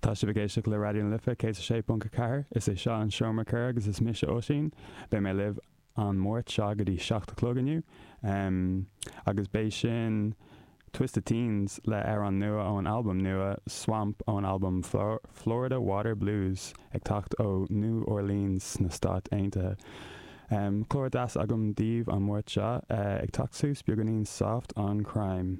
Tá sibh ag éisteacht le Raidió na Life 106.4, is é seo an Seomra Comhrá agus is mise Oisín. Beidh mé libh an Máirt seo go dtí 7 a chlog inniu. Agus beidh sin Twisted Teens le amhrán nua ón albam nua Swamp ón albam Florida Water Blues ag teacht ó New Orleans sna Stáit Aontaithe. Clár deas agam daoibh an Máirt seo, ag teacht suas beagáinín Soft on Crime.